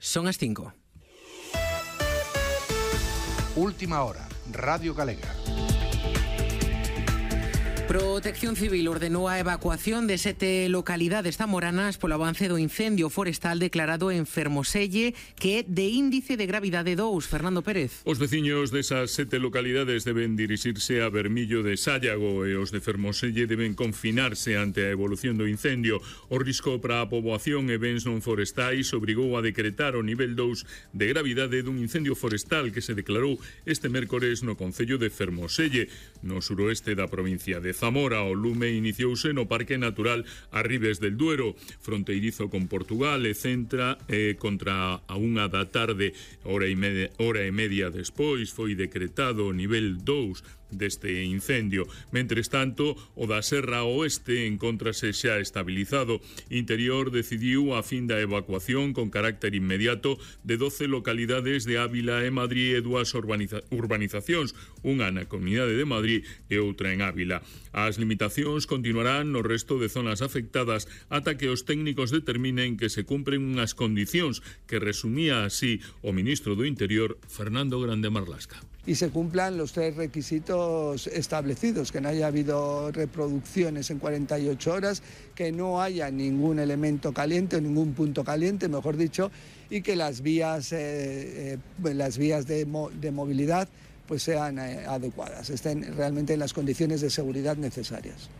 Son as 5. Última hora, Radio Galega. Protección Civil ordenou a evacuación de 7 localidades zamoranas polo avance do incendio forestal declarado en Fermoselle, que é de índice de gravidade 2. Fernando Pérez. Os veciños desas 7 localidades deben dirixirse a Bermillo de Sállago e os de Fermoselle deben confinarse ante a evolución do incendio. O risco para a poboación e bens non forestais obrigou a decretar o nivel 2 de gravidade dun incendio forestal que se declarou este mércores no concello de Fermoselle, no suroeste da provincia de Zamora. O lume iniciouse no Parque Natural Arribes del Duero, fronteirizo con Portugal, e centra contra a 1 da tarde, hora e media despois, foi decretado o nivel 2 deste incendio. Mentres tanto, o da Serra Oeste encontrase xa estabilizado. Interior decidiu a fin da evacuación con carácter inmediato de 12 localidades de Ávila e Madrid e 2 urbanizacións, unha na Comunidade de Madrid e outra en Ávila. As limitacións continuarán no resto de zonas afectadas ata que os técnicos determinen que se cumpren unhas condicións que resumía así o ministro do Interior, Fernando Grande Marlasca. Y se cumplan los 3 requisitos establecidos, que no haya habido reproducciones en 48 horas, que no haya ningún elemento caliente o ningún punto caliente, mejor dicho, y que las vías de movilidad pues sean adecuadas, estén realmente en las condiciones de seguridad necesarias.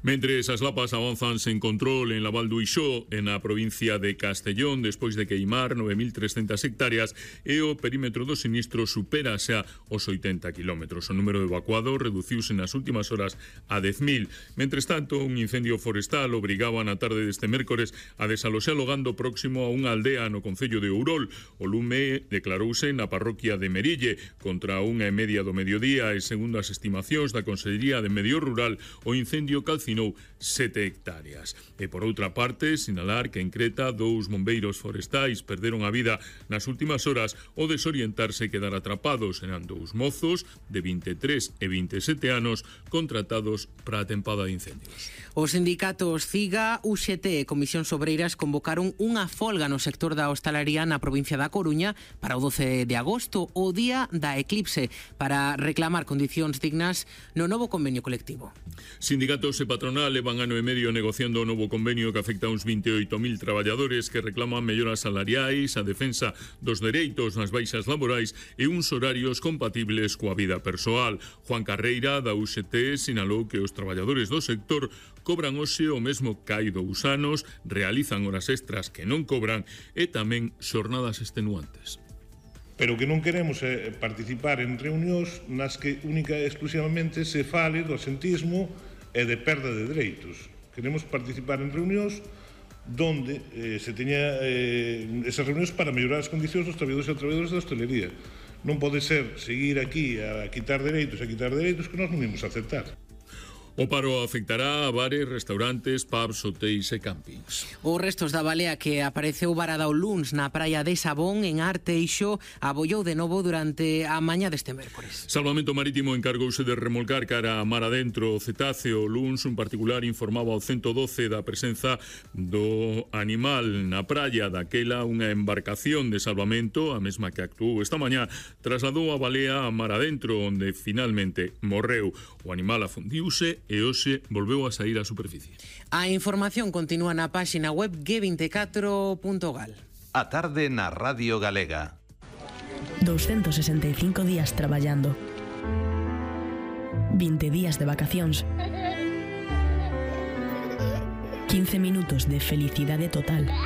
Mentres as lapas avanzan sen control en la Val do Ixó, en a provincia de Castellón, despois de queimar 9.300 hectáreas, e o perímetro do sinistro supera xa os 80 kilómetros. O número de evacuados reduciuse nas últimas horas a 10.000. Mentres tanto, un incendio forestal obrigaba na tarde deste mércores a desaloxar o gando próximo a unha aldea no concello de Ourol. O lume declarouse na parroquia de Merille contra 1:30 do mediodía e, segundo as estimacións da Consellería de Medio Rural, o incendio calcinou 7 hectáreas. E por outra parte, sinalar que en Creta 2 bombeiros forestais perderon a vida nas últimas horas ao desorientarse e quedar atrapados. Eran 2 mozos de 23 e 27 anos contratados para a tempada de incendios. Os sindicatos CIGA, UGT e Comisións Obreiras convocaron unha folga no sector da hostalaría na provincia da Coruña para o 12 de agosto, o día da eclipse, para reclamar condicións dignas no novo convenio colectivo. Sindicatos e patronal levan ano e medio negociando o novo convenio que afecta a uns 28.000 traballadores que reclaman melloras salariais, a defensa dos dereitos nas baixas laborais e uns horarios compatibles coa vida persoal. Juan Carreira, da UGT, sinalou que os traballadores do sector cobran hoxe o mesmo que hai 2 anos, realizan horas extras que non cobran e tamén xornadas extenuantes. Pero que non queremos é participar en reunións nas que única e exclusivamente se fale do asentismo e de perda de dereitos. Queremos participar en reunións donde se teña esas reunións para mellorar as condicións dos traballadores e traballadoras da hostelería. Non pode ser seguir aquí a quitar dereitos que nós non imos aceptar. O paro afectará a bares, restaurantes, pubs, hotéis e campings. Os restos da balea que apareceu varada o luns na praia de Sabón, en Arteixo, abollou de novo durante a mañá deste mércores. Salvamento Marítimo encargouse de remolcar cara a mar adentro o cetáceo. O luns, un particular informaba ao 112 da presenza do animal na praia. Daquela, unha embarcación de salvamento, a mesma que actuou esta mañá, trasladou a balea a mar adentro, onde finalmente morreu. O animal afundiuse e hoxe volveu a sair á superficie. A información continúa na páxina web g24.gal. A tarde na Radio Galega. 265 días traballando. 20 días de vacacións. 15 minutos de felicidade total.